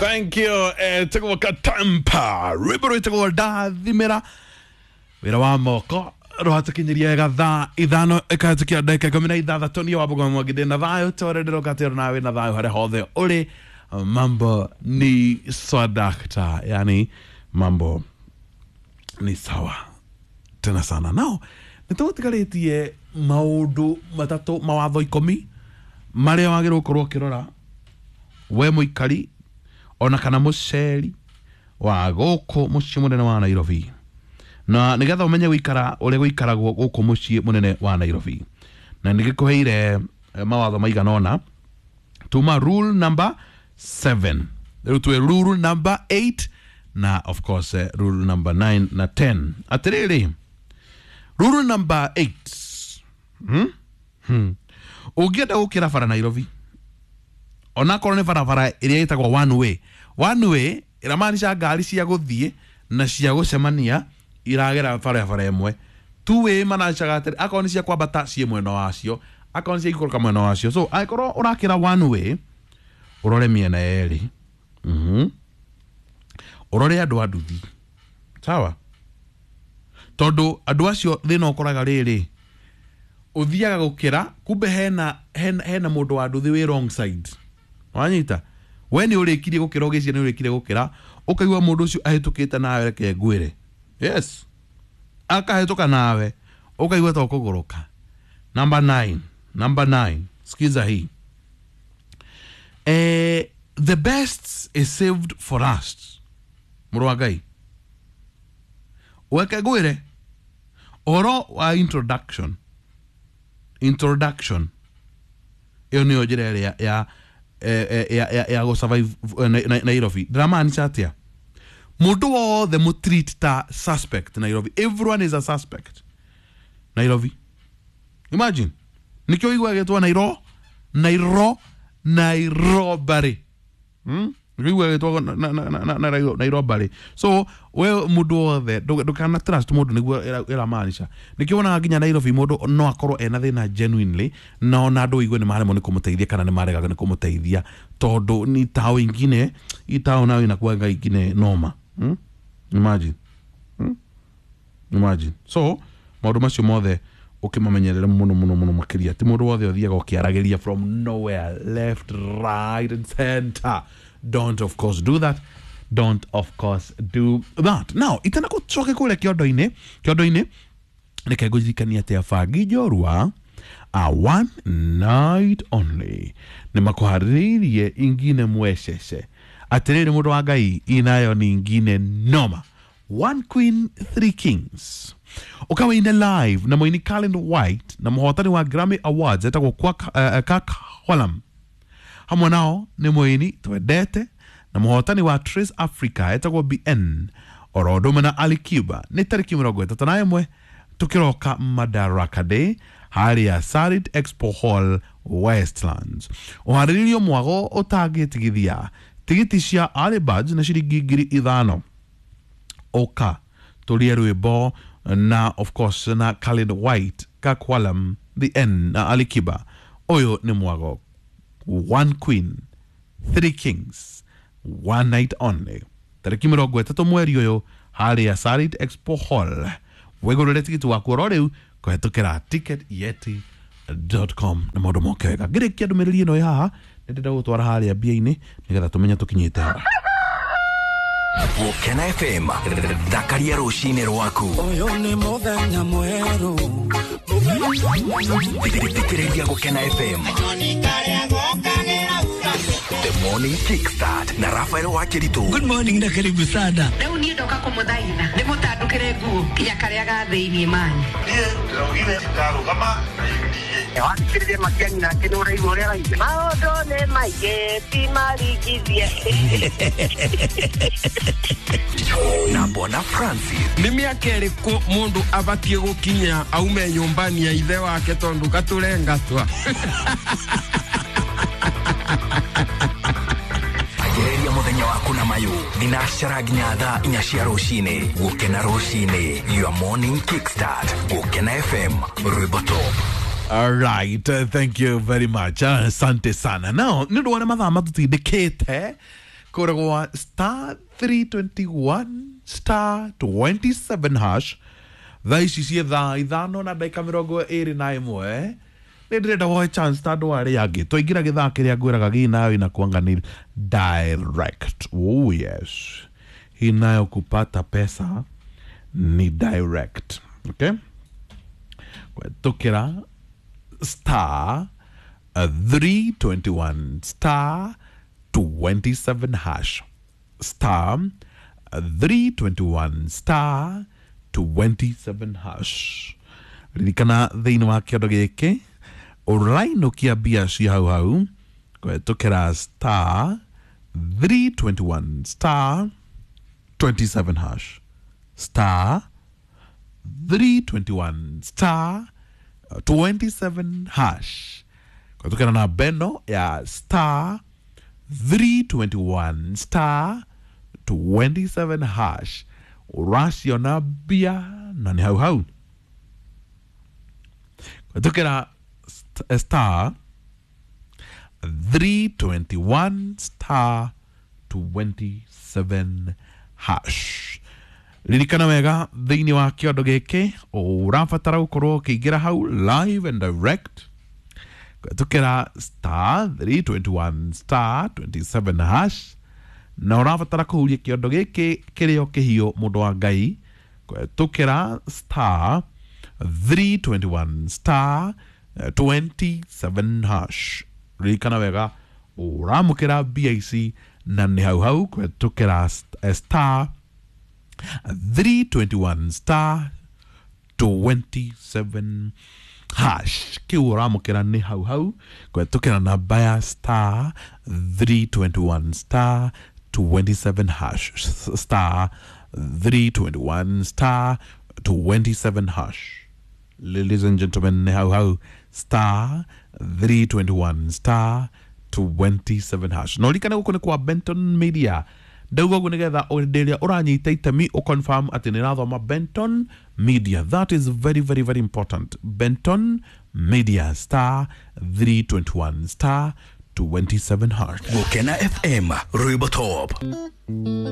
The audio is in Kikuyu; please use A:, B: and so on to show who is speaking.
A: Thank you. Etagwo Katampa rwĩmbo rwĩtagwo Ndathimĩra wĩra wa moko rwatũkinyirie wega thaa 5 ĩkahĩtũkia ndagĩka 16. Niĩ wa Bũgoma Mwangi ndĩ na thayũ ta ũrĩa ndĩroka atĩ nawe na thayũ harĩa hothe ũrĩ. Mambo ni swadakta, yani mambo ni sawa tena sana. Nao nĩ tũgũtigarĩtie maũndũ matatũ, mawatho 10 marĩa wagĩrĩirwo gũkorwo ũkĩrora we mũikari ona kana mũceri wa gũkũ mũciĩ mũnene wa Nairobi, na nĩgetha ũmenye gũikara ũrĩa gũikaragwo gũkũ mũciĩ mũnene wa Nairobi. Na nĩgĩkũheire mawatho maigana ũna. Tuma rule number 7, rĩu twĩ rule number 8 na of course rule number 9 na 10. Atĩrĩrĩ, rule number 8, ũngĩenda gũkĩra bara Nairobi, onakorwo nĩ barabara ĩrĩa ĩtagwo one way, one way ĩramaanisha ngari cia gũthiĩ na cia gũcemania iragera barabara ĩmwe. Two way manacaga atĩrĩ, akorwo nĩ cia kwambata ciĩ mwena wacio, akorwo nĩ cia ikũrũka mwena wacio. So angĩkorwo ũrakĩra one way, ũrore mĩena yerĩ, ũrore andũ a nduthi, sawa, tondũ andũ acio thĩna ũkoraga rĩrĩ, ũthiaga gũkĩra kumbe hena mũndũ wa nduthi wĩ wrong side. Wanyita, we nĩ ũrĩkirie gũkĩra, ũgĩciria nĩ ũrĩkirie gũkĩra, ũkaigua mũndũ ũcio ahĩtũkĩte nawe, reke ngwĩre, yes, akahĩtũka nawe ũkaigua ta ũkũgũrũka. Number 9, number 9, sikiza hii. The best is saved for last. Mũrũ wa Ngai, weke ngwĩre ũhoro wa introduction. Introduction ĩyo nĩyo njĩra ĩrĩa ya gũ survive Nairobi. Ndĩramaanisha atĩa? Mũndũ wothe mũtreat ta suspect Nairobi. Everyone is a suspect Nairobi. Imagine, nĩkĩo ũiguaga gĩtwo Nairobari. Nĩkĩo ũiguaga gĩtwo Nairobari. So we mũndũ wothe ndũkana trust mũndũ, nĩguo ĩramaanisha. Nĩkĩo wonaga nginya Nairobi mũndũ no akorwo ena thĩna genuinely, na ona andũ ũigue nĩ maremwo nĩ kũmũteithia kana nĩ maregaga nĩ kũmũteithia, tondũ ni tao ingine, hii tao nayo inakuanga ingine noma. Imagine. Imagine. So maũndũ macio mothe ũkĩmamenyerere mũno mũno mũno makĩria. Ti mũndũ wothe ũthiaga ũkĩaragĩria from nowhere, left, right and center. Don't of course do that. Don't of course do that. Now, itana gũcoke kũrĩa kĩondo-inĩ, kĩondo-inĩ reke ngũririkanie atĩ abangi njorua a one night only nĩ makũharĩrĩirie ingine mwecece. Atĩrĩrĩ mũndũ wa Ngai, inayo ni ingine noma. One Queen, Three Kings. Ũkawaine live na mũini Colin White na mũhotani wa Grammy Awards etagwo Kirk Whalum. Hamwe nao nĩ mũini twendete na mũhotani wa Trace Africa etagwo BN oro ũndũ ũmwe na Ali Kiba. Nĩ tarĩki 31 tũkĩroka Madaraka Day harĩa Sarit Expo Hall, Westlands. Ũharĩrĩrio mwago ũtangĩtigithia. Tigiti cia early birds na ciringi 5,000. Oka tũrie rwĩmbo na of course na Colin White, Kirk Whalum, The N na Ali Kiba. Ũyũ nĩ mwago One Queen, Three Kings, one night only. Tarĩki 30 mweri ũyũ harĩa Sarit Expo Hall. Wĩgũrĩre tigiti waku oro rĩu kũhetũkĩra ticketyeti.com na maũndũ moke wega. Ngĩrĩkia ndũmĩrĩri ĩno ĩ haha, nĩ ndĩrenda gũtwara harĩa mbia-inĩ nĩgetha tũmenye tũkinyĩte ha.
B: Gũkena FM, thakaria rũcinĩ rwaku.
C: Ũyũ nĩ mũthenya mwerũ.
B: Thikĩrĩria Gũkena FM. The Morning Kickstart na Rafael Wakiritu.
C: Good morning na karibu sana.
D: Rĩu niĩ ndoka kũmũthaitha ndĩmũtandũkĩre nguo nginya karĩa ga thĩiniĩ manyu.
E: Niĩ ndĩraugire ndarũgama na UDA.
F: Wathikĩrĩria Matiang'i nake nĩ ũraigua ũrĩa araigua. Maũndũ nĩ maingĩ ti maringithie.
B: Na Bwana Francis.
G: Nĩ mĩaka ĩrĩkũ mũndũ abatiĩ gũkinya aume nyũmbani ya ithe wake tondũ gatũrengatwa?
B: Anjĩrĩria mũthenya waku na mayũ thinacara nginya thaa 4 cia rũcinĩ. Gũkena rũcinĩ, your morning kickstart. Gũkena FM, rwĩmbo top.
A: All right, thank you very much. Asante sana. Now, nĩ ũndũ wa ũrĩa mathaa matũtindĩkĩte Kũragwa star 321 star 27 hash. Thaa ici ciĩ thaa 5 na ndagĩka 21. Nĩ ndĩrenda woe chance ta andũ arĩa angĩ. Twaingĩra gĩthaa kĩrĩa ngwĩraga gĩ nayo inakuanga ni direct. Oh yes, hii nayo kupata pesa ni direct. Okay, kwetukĩra star 321 star 27 hash, star 321 star 27 hash. Ririkana thĩinĩ wa kĩondo gĩkĩ ũrainũkia mbia cia hau hau kwetukĩra star 321 star 27 hash, star 321 star 27 hash, kwetukĩra na beno ya star 321 star 27 hash. Ũraciona mbia na nĩ hau hau. Kwetukĩra star 321 star 27 hash. Ririkana wega thĩinĩ wa kĩondo gĩkĩ ũrabatara gũkorwo ũkĩingĩra hau live and direct kwetukĩra star 321 star 27 hash, na ũrabatara kũhuria kĩondo gĩkĩ kĩrĩa kĩhiũ mũndũ wa Ngai kwetukĩra star 321 star 27 hash. Ririkana wega ũramũkĩra mbia ici na nĩ hau hau kwetukĩra star 321 star 27 hash. Kĩu ũramũkĩra nĩ hau hau kwetukĩra namba ya star 321 star 27 hash, star 321 star 27 hash. Ladies and gentlemen, nĩ hau hau star 321 star 27 hash. Na ũririkane gũkũ nĩ kwa Benton Media. Ndauga ũguo nĩgetha hĩndĩ ĩrĩa ũranyita itemi ũconfirm atĩ nĩ ĩrathoma Benton Media. That is very very very important. Benton Media star 321 star 27 hash.
B: Gukena FM rwimbo top.